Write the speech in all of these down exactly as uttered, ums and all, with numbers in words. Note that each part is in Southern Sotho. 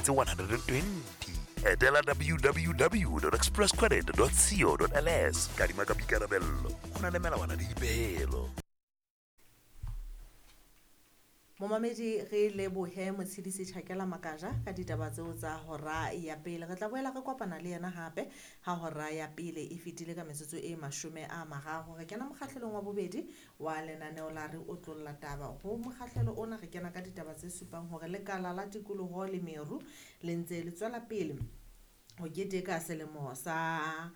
tse one hundred and twenty. Etela w w w dot express credit dot co dot l s. Kadima ka boikarabello, ho na le melawana le dipehelo. Momamedi re lebohe Motshidisi Tjhakela Makaja ka ditaba tseo tsa hora ya pele. Re tla boela re kopana le yena hape ha hora ya pele e fetile ka metsotso e mashome a mararo. Re kena mokgahlelong wa bobedi wa lenaneo la Re Otlolla Taba. Ho mokgahlelo ona re kena ka ditaba tse supang hore lekala la tikoloho le meru le ntse le tswela pele ho keteka selemo sa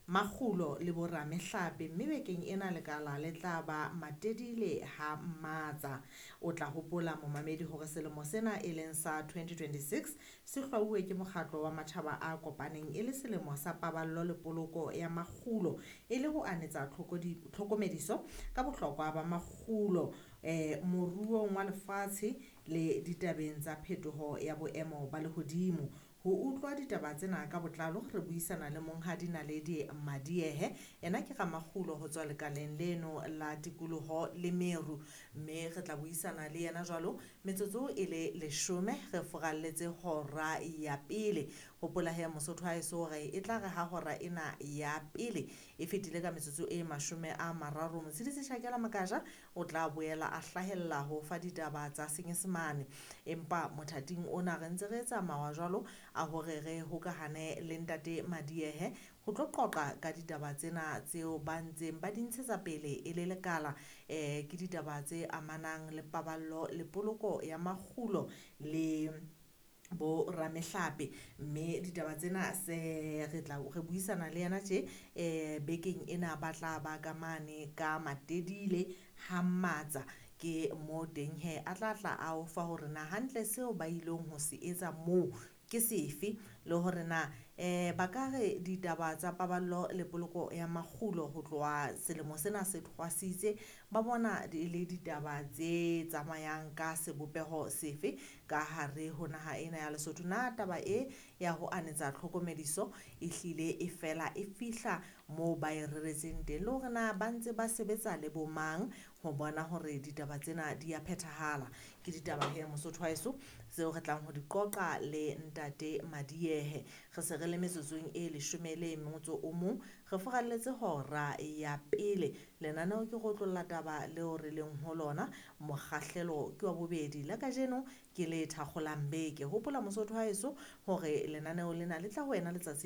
makgulo le boramehlape, mme bekeng ena lekala le tla ba Matedile ha Mmatsa. O tla hopola momamedi hore selemo sena e leng sa twenty twenty-six se hlwauwe ke mokgatlo wa matjhaba a kopaneng e le selemo sa paballo le poloko ya makgulo, e le ho anetsa tlhokomediso ka bohlokwa ba makgulo eh moruong wa lefatshe le ditabeng tsa phetoho ya boemo ba lehodimo. Ho utlwa ditaba tsena ka botlalo re buisana le Monghadi Naledi Madiehe, ena ke ramakgulo ho tswa lekaleng leno la tikoloho le meru, mme re tla buisana le yena jwalo metsotso e le leshome re furalletse hora ya pele. Hopola he Mosotho haeso hore e tla re ha hora ena ya pele e fetile ka metsotso e mashome a mararo, Motshidisi Tjhakela Makaja o tla boela a hlahella ho fa ditaba tsa Senyesemane. Empa mothating ona re ntse re tsamaya jwalo a hore re hokahane le Ntate Madiehe ho tlo qoqa ka ditaba tsena tseo ba ntseng ba di ntshetsa pele e le lekala. Eh ke ditaba tse amanang le paballo le poloko ya makgulo le bo ramehlape, mme ditaba tsena se re tla re buisana le yena tje eh bekeng ena ba tla ba ka mane ka Matedile ha Mmatsa. Ke mo teng he a tla tla a o fa hore na hantle seo ba ileng ho se etsa moo ke sefe, le hore na eh ba ka re ditaba tsa paballo le poloko ya makgulo ho tloha selemo sena se thwasitse ba bona di le ditaba tse tsamayang ka sebopeho sefe ka hare ho naha ena ya Lesotho. Na taba e ya ho anetsa tlhokomediso e hlile e fela e fihla moo ba e reretseng teng, le hore na ba ntse ba sebetsa le bo mang ho bona hore ditaba tsena di a phethahala. Ke ditaba he Mosotho haeso tseo re tlang ho di qoqa le Ntate Madiehe. Re se re le metsotsong e leshome le motso o mong, re furalletse hora ya pele. Lenaneo ke go otlolla taba leo re leng ho lona, mokgahlelo ke wa bobedi la kajeno ke le thakgolang beke. Hopola Mosotho haeso hore lenaneo lena le tla ho wena letsatsi